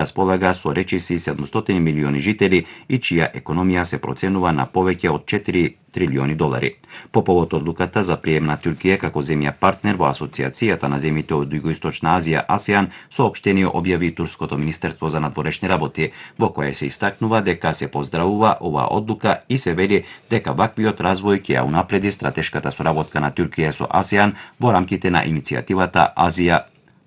располага со речиси 700 милиони жители и чија економија се проценува на повеќе од 4 трилиони долари. По повод одлуката за прием на Туркија како земја партнер во Асоциацијата на земјите од Југоисточна Азија АСЕАН, соопштение објави Турското министерство за надворешни работи, во кое се истакнува дека се поздравува оваа одлука и се вели дека ваквиот развој ќе ја унапреди стратешката соработка на Туркија со АСЕАН во рамките на иницијативата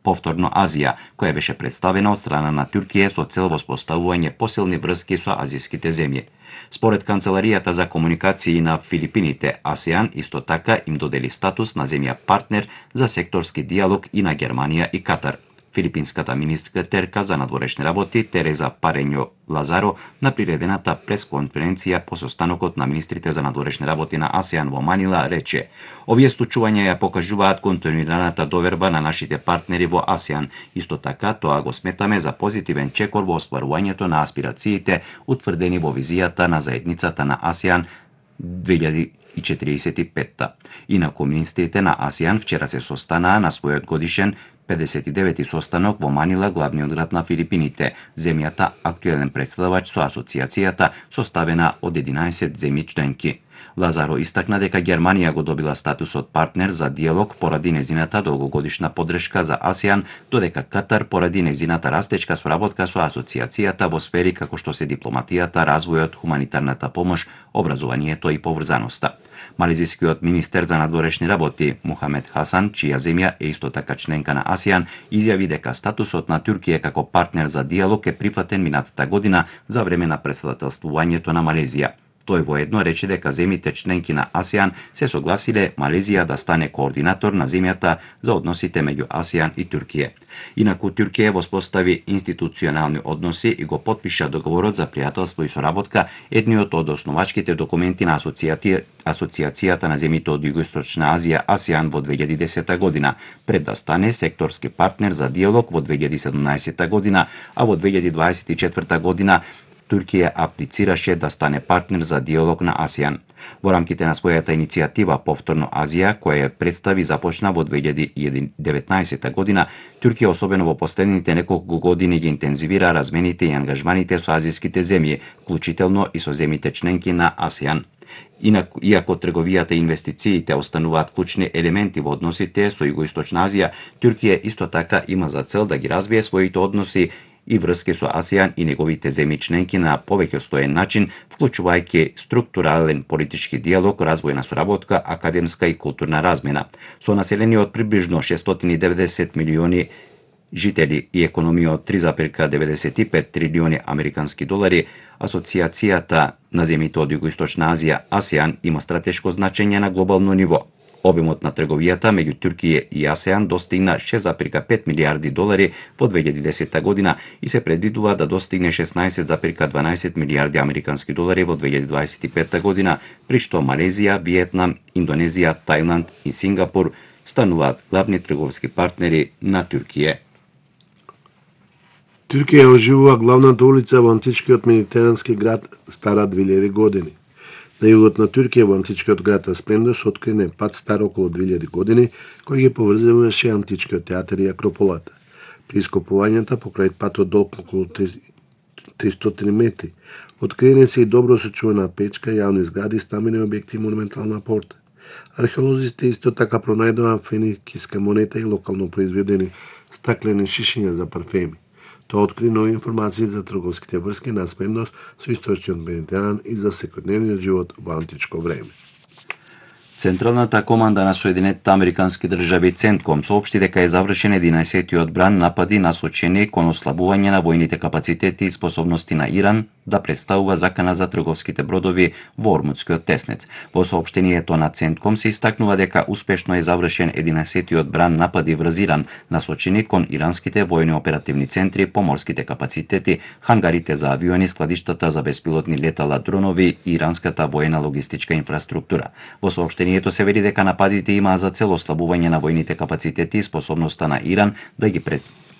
Повторно Азија, која беше представена од страна на Туркија со цел воспоставување посилни врски со азијските земји. Според Канцеларијата за комуникации на Филипините, АСЕАН исто така им додели статус на земја партнер за секторски диалог и на Германија и Катар. Филипинската министерка за надворешни работи Тереза Парењо Лазаро на приредената пресконференција по состанокот на министрите за надворешни работи на АСЕАН во Манила рече: "Овие случувања ја покажуваат континуираната доверба на нашите партнери во АСЕАН. Исто така, тоа го сметаме за позитивен чекор во остварувањето на аспирациите утврдени во визијата на заедницата на АСЕАН 2045. Инаку министрите на АСЕАН вчера се состанаа на својот годишен 59-ти состанок во Манила, главниот град на Филипините, земјата актуелен представач со асоциацијата составена од 11 земји членки. Лазаро истакна дека Германија го добила статусот партнер за диалог поради незината долгогодишна поддршка за АСЕАН, додека Катар поради незината растечка соработка со асоциацијата во сфери како што се дипломатијата, развојот, хуманитарната помош, образованието и поврзаноста. Малезискиот министер за надворешни работи Мухамед Хасан, чија земја е исто така членка на АСЕАН, изјави дека статусот на Туркија како партнер за диалог е прифатен минатата година за време на претседателствувањето на Малезија. Тој воедно рече дека земјите членки на АСЕАН се согласиле Малезија да стане координатор на земјата за односите меѓу АСЕАН и Туркија. Инаку Туркија воспостави институционални односи и го потпиша договорот за пријателство и соработка, едниот од основачките документи на Асоциацијата на земјите од Југоисточна Азија АСЕАН во 2010 година, пред да стане секторски партнер за диалог во 2017 година, а во 2024 година Туркија аплицираше да стане партнер за диалог на АСЕАН. Во рамките на својата иницијатива Повторно Азија, која ја представи започна во 2019 година, Туркија особено во последните неколку години ги интензивира размените и ангажманите со азијските земји, вклучително и со земјите членки на АСЕАН. Иако трговијата и инвестициите остануваат клучни елементи во односите со Југоисточна Азија, Туркија исто така има за цел да ги развие своите односи и врски со АСЕАН и неговите земји членки на повеќе стоен начин, вклучувајќи структурален политички диалог, развојна соработка, академска и културна размена. Со население од приближно 690 милиони жители и економија од 3,95 трилиони американски долари, Асоциацијата на земјите од Југоисточна Азија АСЕАН има стратешко значење на глобално ниво. Обемот на трговијата меѓу Туркија и АСЕАН достигна 6,5 милијарди долари во 2010 година и се предвидува да достигне 16,12 милијарди американски долари во 2025 година, при што Малезија, Виетнам, Индонезија, Тајланд и Сингапур стануваат главни трговски партнери на Туркија. Туркија оживува главната улица во античкиот медитерански град стара 2000 години. На југот на Туркија во античкиот град Аспендос открине пат стар околу 2000 години, кој ги поврзуваше античкиот театар и Акрополата. При ископувањата покрај патот долг околу 300 метри, откриени се и добро сочувана печка, јавни згради, стамени објекти и монументална порта. Археолозите исто така пронајдоа феникиска монета и локално произведени стаклени шишиња за парфеми. Тоа откри нови информации за трговските врски на Аспендос со источниот Медитеран и за секојдневниот живот во античко време. Централната команда на Соединетите Американски држави Центком соопшти дека е завршен 11-тиот бран напади насочени кон ослабување на војните капацитети и способности на Иран да представува закана за трговските бродови во Ормудскиот теснец. Во соопштението на Центком се истакнува дека успешно е завршен 11-тиот бран напади врз Иран, насочени кон иранските војни оперативни центри, поморските капацитети, хангарите за авиони, складиштата за беспилотни летала дронови и иранската воена логистичка инфраструктура. Во соопштението се вели дека нападите имаа за цел ослабување на војните капацитети и способноста на Иран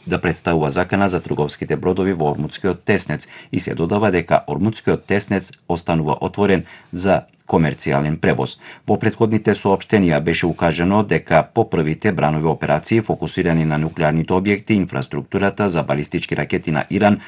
да представува закана за трговските бродови во Ормудскиот теснец и се додава дека Ормудскиот теснец останува отворен за комерцијален превоз. Во претходните соопштенија беше укажано дека по првите бранови операции фокусирани на нуклеарните објекти и инфраструктурата за балистички ракети на Иран